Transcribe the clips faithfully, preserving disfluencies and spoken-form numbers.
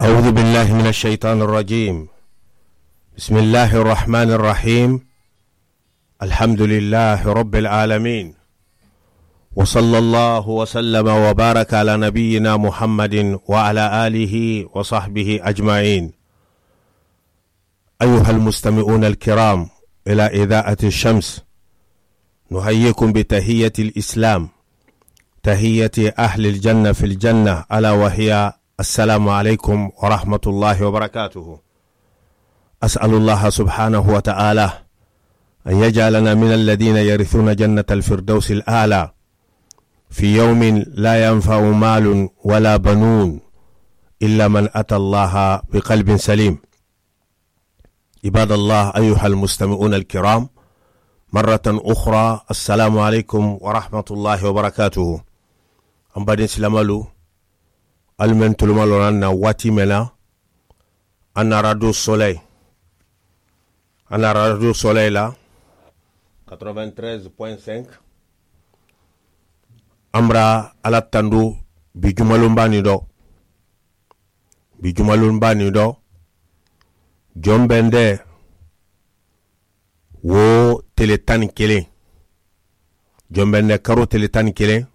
أعوذ بالله من الشيطان الرجيم. بسم الله الرحمن الرحيم. الحمد لله رب العالمين. وصلى الله وسلم وبارك على نبينا محمد وعلى آله وصحبه أجمعين. أيها المستمعون الكرام إلى إذاعة الشمس، نحييكم بتحية الإسلام، تحية أهل الجنة في الجنة، ألا وهي السلام عليكم ورحمة الله وبركاته. أسأل الله سبحانه وتعالى أن يجعلنا من الذين يرثون جنة الفردوس الأعلى في يوم لا ينفع مال ولا بنون إلا من أتى الله بقلب سليم. عباد الله، أيها المستمعون الكرام، مرة أخرى السلام عليكم ورحمة الله وبركاته. An baden silamaalu, alu men tulumaloo la na waati men na, an na radio soleil, an na radio soleil la quatre-vingt-treize point cinq. An bɛ ala tandu bi jumalonba ni dɔ. Bi jumalonba ni dɔ, jɔn bɛ n dɛ wo tele tan ni kelen, jɔn bɛ n dɛ karo tele tan ni kelen,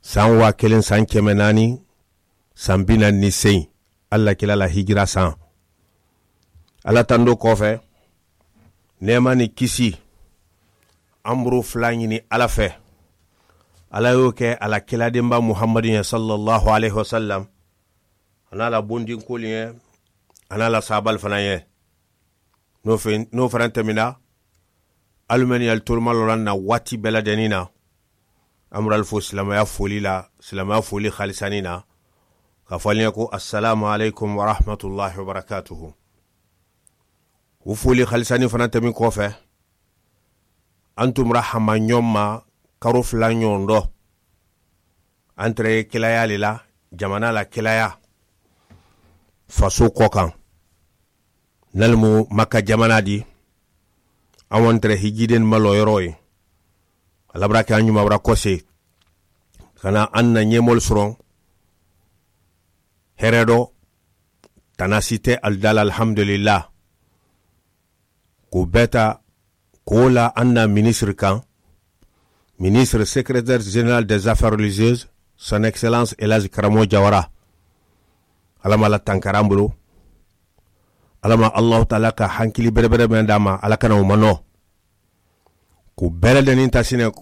san waa kelen san kɛmɛ naani san bi naani ni seegin, ala kila la hijira san. Ala tando kɔfɛ, nɛɛma ni kisi, an buru fila ɲini ala fɛ, ala y'o kɛ a la kiladenba muhamadu ye, sallallahu alaihi wasallam, a n'a la bondinkoli ye, a n'a la sabali fana ye. N'o fɛ, n'o fana tɛmɛna, alu men ye alu tolomalɔ la na waati bɛɛ lajɛlen na, an bɛ alu fo silamɛya foli la, silamɛya foli halisanin na, k'a fɔ alu ye ko asalamu aleykum warahmatulahi wabarakatuhu. O foli halisanin fana tɛmɛnen kɔfɛ, an tun bɔra hama ɲɔgɔn ma karo fila ɲɔgɔn dɔ. An tɛrɛ ye kelaya de la, jamana la kelaya, faso kɔ kan, nalimu maka jamana di. An tɛrɛ hijiden malɔ yɔrɔ ye, alabara kɛ an ɲumanbara kɔse, ka na an na ɲɛmɔli sɔrɔ hɛrɛ dɔ, tanasi tɛ alidala, alihamdulila. K'o bɛɛ ta, k'o la an na minisiri kan, ministre secrétaire général des affaires religieuses, son excellence Elhaji Karamo Jawara. Ala ma Ala tankara an bolo. Ala ma Alahu taala ka hankili bɛrɛbɛrɛ mɛn d'a ma, Ala kana o ma nɔ. Ko bɛɛ lajɛlen ta sinɛ,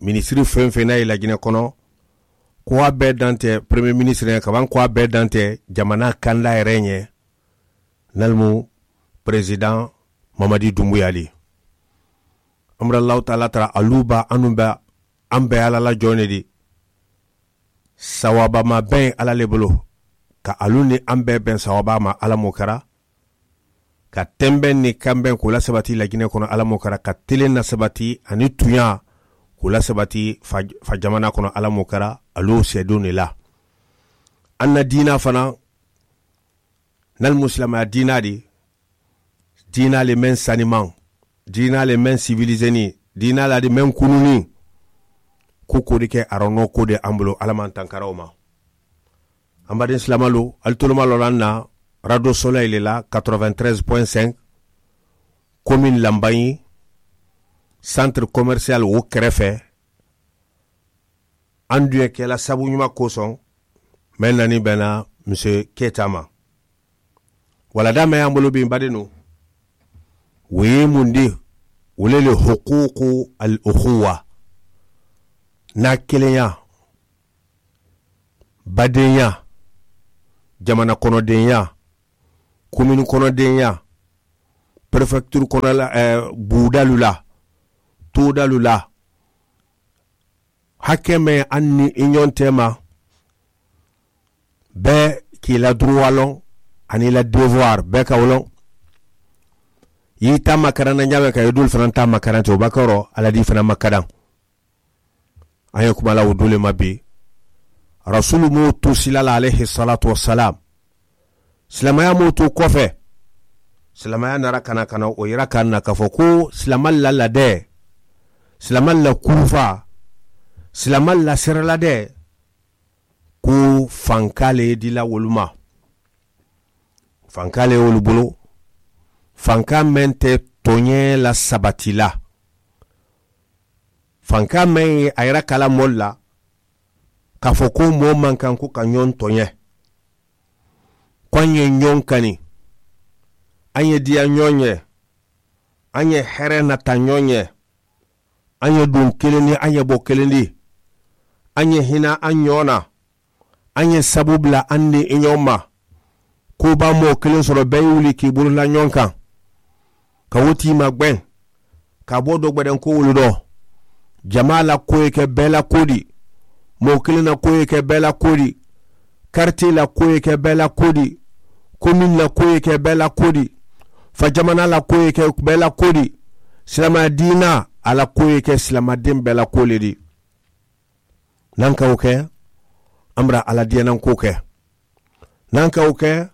minisiri fɛn fɛn n'a ye Lajinɛ kɔnɔ, ko a bɛɛ dantɛ premier ministre ye, kaban ko a bɛɛ dantɛ jamana kanda yɛrɛ ɲɛ, nalimu président Mamadi Doumbouya di. An bɛ Alahu taala tara, alu ba, an bɛ, an bɛ Ala la jɔn de di. Sawabama bɛ Ala le bolo, ka alu ni an bɛɛ bɛn sawaba ma, Ala m'o kɛra, ka tɛnbɛn ni kanbɛn k'o la sabati Lajinɛ kɔnɔ, Ala m'o kɛra, ka telen na sabati ani tunya k'o la sabati fa, fa jamana kɔnɔ, Ala m'o kɛra, alu sɛdenw de la. An na diina fana, nalimu silamɛya diina di, diina le mɛn saniman, diina le mɛn sivilizeni, diina la di mɛn kununi, ko ko di kɛ arɔnɔ ko de an bolo, Ala m'an tankara o ma. An baden silamɛlu, alu tolomalɔ la na radio soleil le la quatre-vingt-treize point cinq, commune Lambaye, centre commercial o kɛrɛfɛ. An dun ye kɛla sabu ɲuman kosɔn, mais nani bɛnna monsieur Keita ma. Walada mɛn y'an bolo bi, n baden nu, o ye mun di? O le le hukuku al ukhuwa, n'a kelenya, badenya, jamana kɔnɔdenya, commune kɔnɔdenya, préfecture kɔnɔ la, ɛɛ, budalu la, todalu la, hakɛ mɛn an ni i ɲɔgɔn cɛ ma, bɛɛ k'i la droit lɔn ani i la devoir bɛɛ ka o lɔn. I y'i ta makaran na ɲa mɛn, ka i dul fana ta makaran ten, o ba kɔrɔ Ala di fana makaran. An ye kuma la o dole ma bi. Rasulu m'o to sila la, alayhi salatu wa salam. Silamɛya m'o to kɔfɛ. Silamɛya nara ka na, ka na o yira k'an na, k'a fɔ ko silamɛ la ladɛ, silamɛ la kurufa, silamɛ la siralada, ko fanka le dila wolu ma. Fankaa le ye wolu bulu. Fankaa meŋ te tooñee la sabati la. Fankaa meŋ ye a yera kala moolu la ka fo ko moo maŋ kaŋ ko ka ñoŋ tooñe. Ko aŋ ye ñoŋ kani, aŋ ye diya ñoŋ ye, aŋ ye here nata ñoŋ ye, aŋ ye duŋ kiliŋ ni aŋ ye bo kiliŋ di, aŋ ye hina aŋ ñoo na, aŋ ye sabu bula aŋ niŋ i ñoo ma. Ko baa moo kiliŋ soro bee ye wuli ka i bulu la ñoŋ kaŋ, ka wo tiima gbeŋ, ka a bo dogbedenko wolu do. Jamaa la kuwo ye ke bee la kuwo di. Moo kiliŋ na kuwo ye ke bee la kuwo di. Karitee la kuwo ye ke bee la kuwo di. Komin la kuwo ye ke bee la kuwo di. Fa jamanaa la kuwo ye ke bee la kuwo di. Silaamaya diinaa a la kuwo ye ke silaamadiŋ bee la kuwo le di. Naŋ ka wo ke, amara alla diyanaŋ kuwo ke. Naŋ ka wo ke,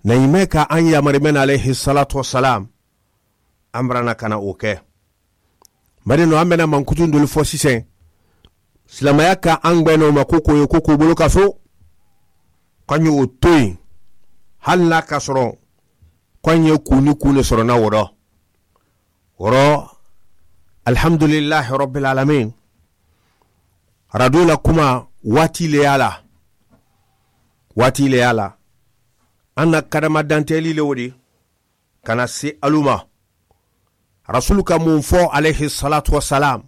na i mee ka aŋ yaamari mee na alayhi salaatu wasalaam, amara na ka na wo ke. Mari no aŋ be na mankutuŋ dolu fo siseŋ, silaamaya ka aŋ gbeŋ no ma ko ko ye ko ko bulu ka so. Ko aŋ ye wo to yi, hali na ka soro ko aŋ ye kuu ni kuu ne soro na wo do. Woro, alhamdulillahi rabbil alamin. Rado la kuma waati le ye a la. Waati le ye a la. An na kadama danteeli le wo di ka na si alu ma. Rasulu ka muŋ fo alayhi salaatu wasalaam,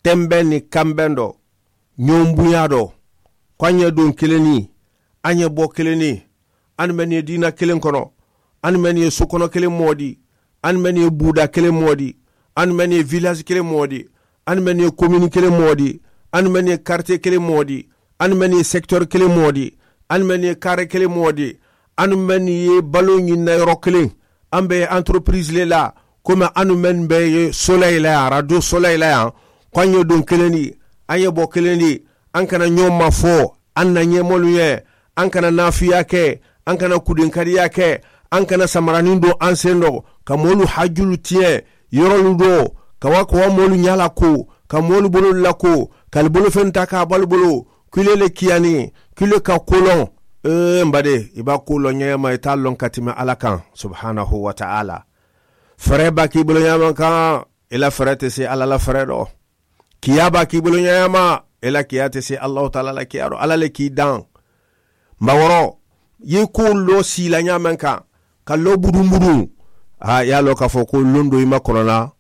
tembeŋ ni kambeŋ do, ñoŋ buñaa do, ko aŋ ye duŋ kiliŋ ni aŋ ye bo kiliŋ ni. Aŋ mennu ye diina kiliŋ kono, aŋ mennu ye sukono kiliŋ moo di, aŋ mennu ye buuda kiliŋ moo di, aŋ mennu ye vilaasi kiliŋ moo di, aŋ mennu ye komini kiliŋ moo di, aŋ mennu ye karitiye kiliŋ moo di, aŋ mennu ye sekitori kiliŋ moo di, aŋ mennu ye kaare kiliŋ moo di, aŋ mennu ye baloo ñiŋ na yoro kiliŋ. Aŋ be antoropiriisi le la, komi aŋ mennu be ye soleyi la yaŋ, radiyo soleyi la yaŋ, ko aŋ ye duŋ kiliŋ di, aŋ ye bo kiliŋ di. Aŋ kana ñoo mafo, aŋ na ñeemoolu ye, aŋ kana naafiyaa ke, aŋ kana kudinkariyaa ke, aŋ kana samaraniŋ do aŋ sendo ka moolu hajulu tiye yorolu do, ka wa ka wa moolu ñaala ko, ka moolu bololu la ko, ka ali bolu feŋ taa ka a balu bulu. Kile le kiyani, kile ka kuloŋ. Ee mba de, i ba kuloŋ ñeema i taa loŋ ka timi alla kaŋ subhanahu wa taala. Fere ba ka i bulu ñeema kaŋ, i la fere te si alla la fere do. Kiyaa ba ka i bulu ñeema, i la kiyaa te si allahu taala la kiyaa do. Alla le ka i daŋ. Mba woro, i ye i ko loo sii la ñaameŋ kaŋ, ka loo buduŋ buduŋ, haa i ye a loo ka fo ko luŋ do i ma kono la,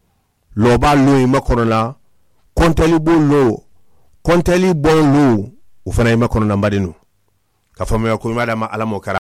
loo baa luŋ i ma kono la, konteli boo loo, konteli boŋ luŋ, wo fanaa i ma kono la mba de nuŋ. Ka fo meŋ ye ko i ma dama alla moo kara.